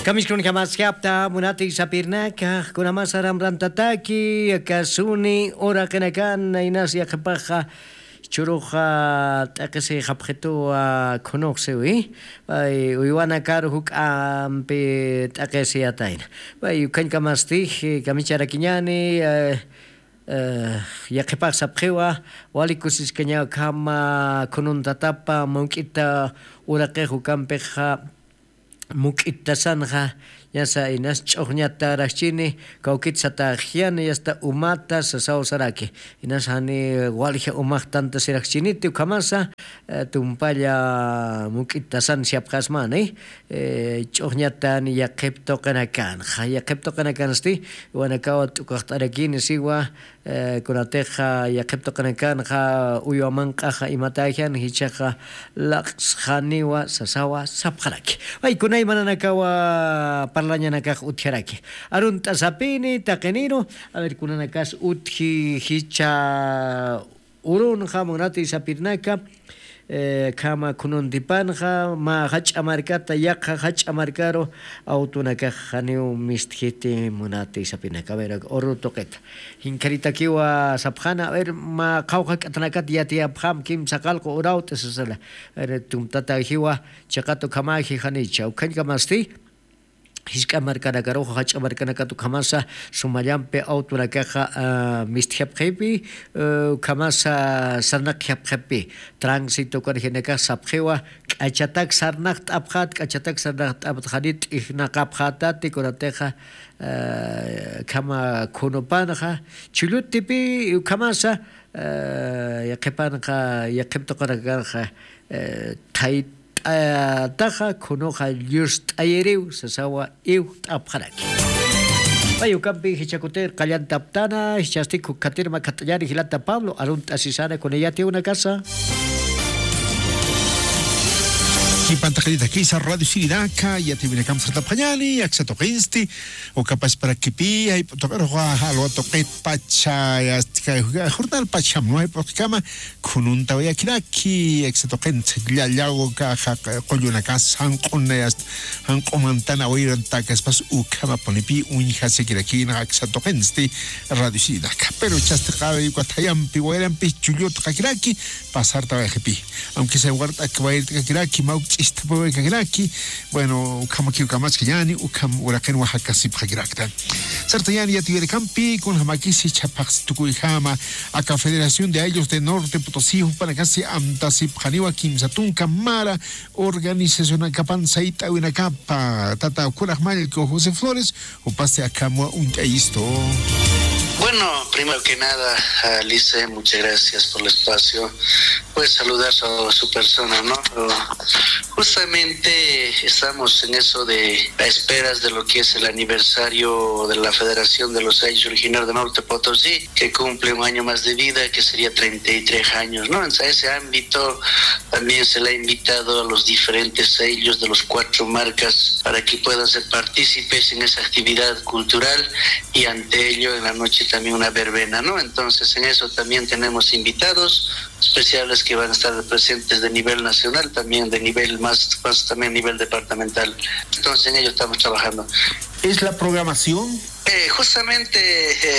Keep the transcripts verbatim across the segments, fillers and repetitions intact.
Kamiskunjamaskapta munati sapirnaka, kunamasa ramrantataki, akasuni, uraqinakan, inas yaqhipaxa, churuxa, t'aqisi japxituwa khunuxsiwi, pay uywanakaru juk'ampi t'aqisiyatayna. Pay ukhañkamasti, kamicharakiñani, eh, eh, yaqhipax sapxiwa, wali kusiskañaw khama khununtatapa, muk'ita uraqix ukampixa, muk'itasanxa, ñasa inas ch'uxñatarakchini, kawkit sataxyani, yasta umata, sasaw saraki. Inas jani walja umax tantasiraxchiniti, ukhamasa, eh, tumpalla muk'itasan siapxasmani, eh, ch'uxñatan yaqhip tuqinakanxa, yaqhip tuqinakansti, wanakawa t'ukaxt'arakini siwa, eh, kunatixa yaqhip tuqinakanxa uywa manq'axa imatäjan, jichhaxa laqsxaniwa sasawa sapxaraki. Ay, kunaymananakawa parlañanakax utjaraki. Arunt'asapini, taqiniru, a ver, kunanakas utji, jichha urunxa, munati sapirnaka, eh, khama khununtipanxa, mä jach'a markata, yaqha jach'a markaru, awtunakax janiw mistjiti munati sapinaka. A ver, uru tuqita. Jinkharitakiwa sapxana, a ver, mä qhawqha k'atanakat yatiyapxam, kimsa qallqu urawt'i sasala. A ver, tumtatajiwa, chiqat ukhamaji janicha. Ukhañkamasti, jisk'a markanakaruxa, jach'a markanakat ukhamasa, sumallampi awtunakaxa, ah, mistjapxipi, eh, ukhamasa sarnaqjapxipi, tránsito ukanjinakax sapxiwa, k'achatak sarnaqt'apxat, k'achatak sarnaqt'apxat, jani t'ijnaqapxatati, kunatixa, eh, khama khunupanxa, chullutipi, ukhamasa, eh, yaqhipanxa, yaqhip tuqinakanxa, eh, thayt'ataxa, khunuxa llust'ayiriw, sasawa iwt'apxaraki. Pay ukampi jichhakutir qallantaptana, jichhasti kukhatir makhat'añani jilata Pablo, arunt'asisana kunayati unakasa. Kipantaqiritakisa Radio Sirinaka, yatiwinakam sartapxañani, aksa tuqinsti, ukapasparakipï, jayp'u tuqiruxa, jalwa tuqitpacha, yastika, jornalpacham, ¿no? Jayp'u tuqikama, khununtawayakirak, ki, aksa tuqinsti, llallaw, ka, ja, qullunaka, janq'una, yast, janq'umantana, awirantaka, spas, ukhamapunipi, uñjasikirakina, aksa tuqinsti, Radio Sirinaka. Pero chasti qawayuka thayampi, wayrampi, chullutqakiraki, pasartawayxipi. Aunque sea wart'ak wayt'kakiraki, mawk ch'istapawayakiraki, bueno, ukhamakiw kamaskayani, ukham uraqinwa jakasipxakirakta. Sartañani yatiwirakampi, kunjamakisi chhapaxsi tukuyjama, aka Federación de Ayllus de Norte Potosí, jupanakasi amtasipxaniwa kimsa tunka mara organizacionakapan sayt'awinakapa, tata ukhuraq mallku José Flores, jupasti akham uñt'ayistu. Bueno, primero que nada, Alice, muchas gracias por el espacio. Pues saludar a su persona, ¿no? Justamente estamos en eso de, a esperas de lo que es el aniversario de la Federación de los Ayllus Originarios de Norte Potosí, que cumple un año más de vida, que sería treinta y tres años, ¿no? En ese ámbito también se le ha invitado a los diferentes ayllus de los cuatro marcas para que puedan ser partícipes en esa actividad cultural y ante ello en la noche también una verbena, ¿no? Entonces en eso también tenemos invitados especiales que van a estar presentes de nivel nacional, también de nivel más, más también nivel departamental. Entonces en ello estamos trabajando. ¿Es la programación? Eh, justamente,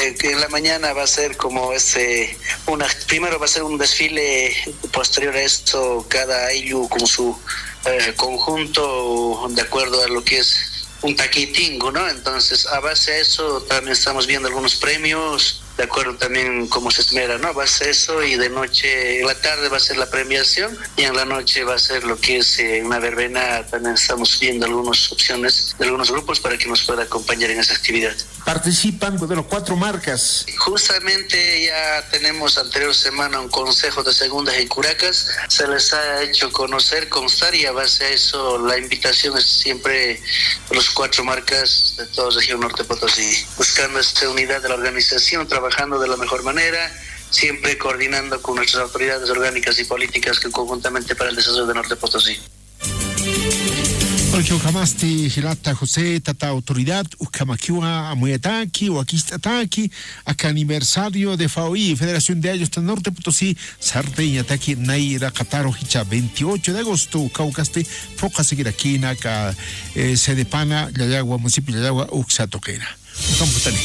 eh, que en la mañana va a ser como ese, una, primero va a ser un desfile, posterior a esto cada ayllu con su, eh, conjunto de acuerdo a lo que es un taquitingo, ¿no? Entonces, a base a eso también estamos viendo algunos premios, de acuerdo también cómo se esmera, ¿no? Va a ser eso y de noche, en la tarde va a ser la premiación y en la noche va a ser lo que es, eh, una verbena. También estamos viendo algunas opciones de algunos grupos para que nos pueda acompañar en esa actividad. Participan de los cuatro marcas. Justamente ya tenemos anterior semana un consejo de segundas y curacas. Se les ha hecho conocer, constar y a base a eso la invitación es siempre los cuatro marcas de toda región Norte Potosí, buscando esta unidad de la organización, trabajando de la mejor manera, siempre coordinando con nuestras autoridades orgánicas y políticas que conjuntamente para el desarrollo de Norte Potosí. Ukhamasti jilata José, tata autoridad, ukhamakiwa amuyataki, wakist'ataki, aka aniversario de FAOI, Federación de Ayllus Norte Potosí, sartayñataki nayraqataru jichha veintiocho de agosto, ukhawkasti phuqhasikirakïna aka, eh, Sedepana, Llallagua, municipio Llallagua, uksa tuqina. Ukham jutani.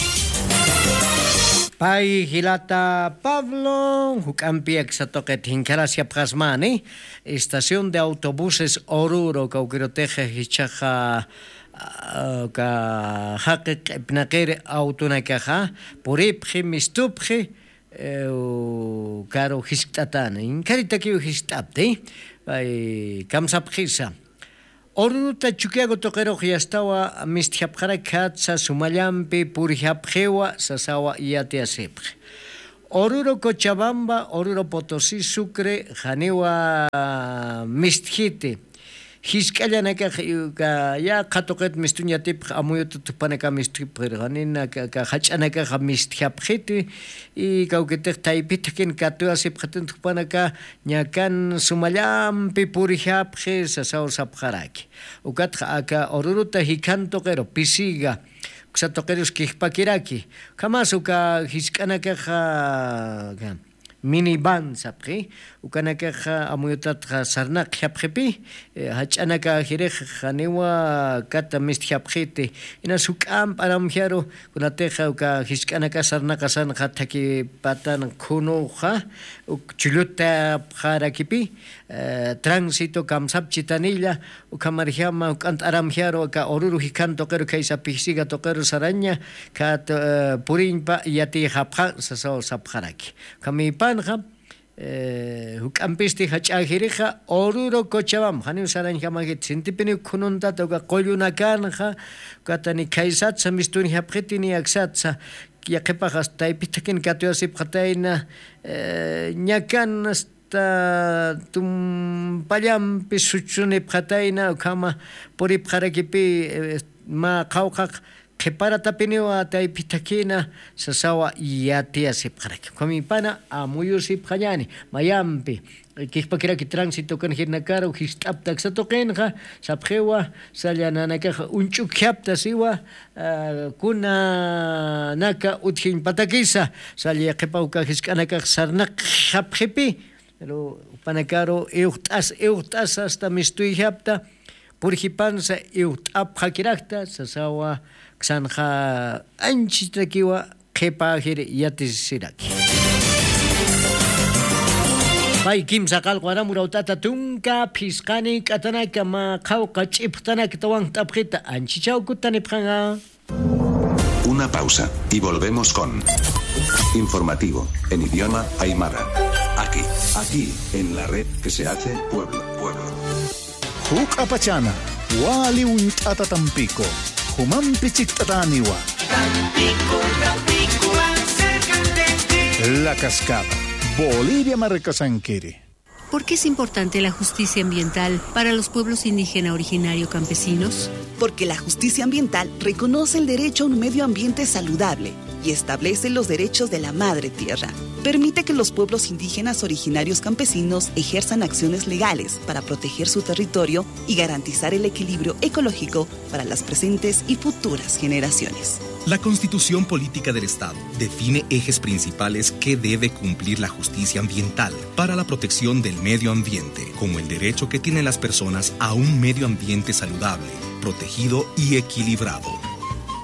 Pay jilata Pablo, juk'ampi aksa tuqit jinkharasipxasmani, estación de autobuses Oruro, kawkirutix jichhaxa, ah, ka jaqi q'ipnaqiri autonakaxa, puripxi, mistupxi, eh, u-, karu jiskt'atani. Jinkharitakiw jiskt'apti, pay kamsapxisa. Oruruta Chukiyawu tuqirux yastawa mistjapxarakjatsa, sumallampi purjapxiwa sasawa yatiyasipxi. Oruro Cochabamba, Oruro Potosí, Sucre, janiwa mistjiti. Jisk'allanakax, uka yaqha tuqit mistuñ yatipxi, amuyuta thupanaka mistjapxiri, janina ka, ka jach'anakaxa mistjapxiti, y kawkitix taypit jakin katuwasipxatin thupanaka, ñakan sumallampi purjapxi sasaw sapxaraki. Ukatxa aka Oruruta jikhan tuqiru, Pisiga, uksa tuqirus kijpakiraki. Ukhamas uka jisk'anakaxa, minivan sapxi, ukanakaxa amuyutatxa sarnaqjapxipi, eh, jach'anakajirix janiwa kata mistjapxiti. Inas juk'amp aramjaru, kunatixa uka jisk'anaka sarnaqasanxa thakipatan khunuxa, uk chullutapxarakipi, eh, tránsito kamsapchitanilla, ukhamarjama juk'ant aramjaru aka Oruro jikhan tuqiru khaysa Pisiga tuqiru saraña, khat, eh, puriñpa yatiyxapxan sasaw sapxaraki. Ukhamipanxa, eh, juk'ampisti jach'ajirixa Oruro Cochabamba, janiw sarañjamajit, sintipiniw khununtata uka qullunakanxa, ukatani khaysatsa mistunjapxiti ni aksatsa, yaqhipax hasta taypit jakin katuwasipxatayna, eh, ñakan hasta tumpallampi suchunipxatayna, ukhama puripxarakipi, eh, mä qhawqhax qhiparatapiniwa taypit jakina sasawa yatiyasipxaraki. Ukhamipana amuyusipxañani, mayampi kijpakiraki tránsito ukan jirinakaru jist'apta aksa tuqinxa, sapxiwa, salla nanakax uñch'ukjapta siwa, ah, kuna naka utjiñ patakisa, salla yaqhipa uka jisk'anakax sarnaqxapxipi, pero jupanakaru iwxt'as, iwxt'as hasta mistuyjapta, purjipansa iwxt'apxakirakta, sasawa, aksanxa anchitakiwa, qhipajir yatisiraki. Pay kimsa qallqu aram urawt'ata tunka phisqani k'atanaka mä qhawqa ch'ipxtanaktawan jt'apxita, anchichaw kutanipxanxa. Una pausa, y volvemos con informativo en idioma aymara. Aquí, aquí, en la red que se hace pueblo, pueblo. Juk'apachana, wali uñt'ata Tampico, jumampi chikt'atäniwa. Tampico, Tampico, más cerca de ti. La Cascada, Bolivia markasankiri. ¿Por qué es importante la justicia ambiental para los pueblos indígena originario campesinos? Porque la justicia ambiental reconoce el derecho a un medio ambiente saludable y establece los derechos de la madre tierra. Permite que los pueblos indígenas originarios campesinos ejerzan acciones legales para proteger su territorio y garantizar el equilibrio ecológico para las presentes y futuras generaciones. La Constitución Política del Estado define ejes principales que debe cumplir la justicia ambiental para la protección del medio ambiente, como el derecho que tienen las personas a un medio ambiente saludable, protegido y equilibrado.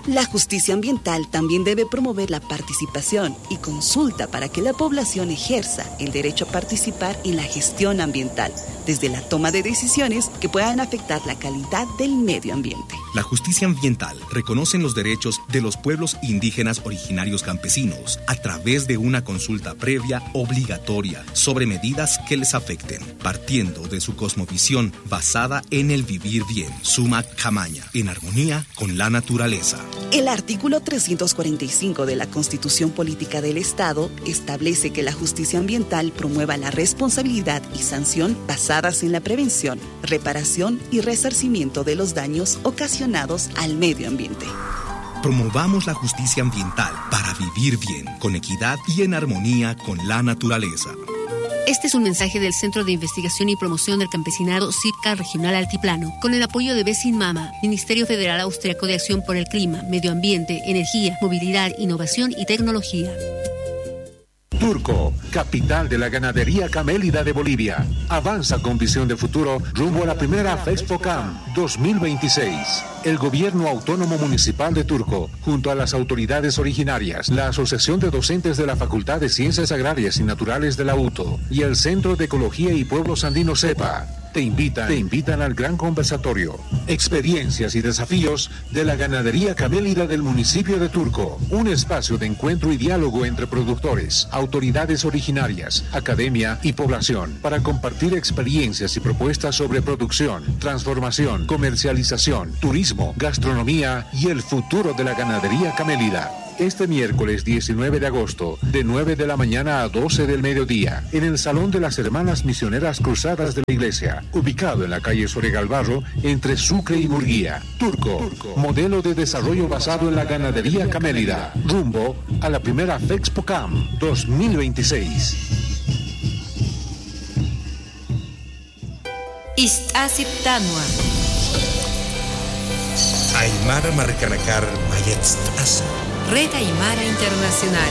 La justicia ambiental también debe promover la participación y consulta para que la población ejerza el derecho a participar en la gestión ambiental, desde la toma de decisiones que puedan afectar la calidad del medio ambiente. La justicia ambiental reconoce los derechos de los pueblos indígenas originarios campesinos a través de una consulta previa obligatoria sobre medidas que les afecten, partiendo de su cosmovisión basada en el vivir bien, suma khamaña, en armonía con la naturaleza. El artículo trescientos cuarenta y cinco de la Constitución Política del Estado establece que la justicia ambiental promueva la responsabilidad y sanción basadas en la prevención, reparación y resarcimiento de los daños ocasionados al medio ambiente. Promovamos la justicia ambiental para vivir bien, con equidad y en armonía con la naturaleza. Este es un mensaje del Centro de Investigación y Promoción del Campesinado, CIPCA Regional Altiplano, con el apoyo de Besin Mama, Ministerio Federal Austriaco de Acción por el Clima, Medio Ambiente, Energía, Movilidad, Innovación y Tecnología. Turco, capital de la ganadería camélida de Bolivia, avanza con visión de futuro rumbo a la primera FEXPOCAM dos mil veintiséis. El gobierno autónomo municipal de Turco, junto a las autoridades originarias, la Asociación de Docentes de la Facultad de Ciencias Agrarias y Naturales de la UTO y el Centro de Ecología y Pueblos Andinos, CEPA, te invitan, te invitan al gran conversatorio, experiencias y desafíos de la ganadería camélida del municipio de Turco, un espacio de encuentro y diálogo entre productores, autoridades originarias, academia y población para compartir experiencias y propuestas sobre producción, transformación, comercialización, turismo, gastronomía y el futuro de la ganadería camélida. Este miércoles diecinueve de agosto, de nueve de la mañana a doce del mediodía, en el Salón de las Hermanas Misioneras Cruzadas de la Iglesia, ubicado en la calle Soregalbarro, entre Sucre y Murguía. Turco, modelo de desarrollo basado en la ganadería camélida, rumbo a la primera FEXPOCAM dos mil veintiséis. Ist'asiptanwa. Aymara markanakar mayatst'asa. Red Aymara Internacional.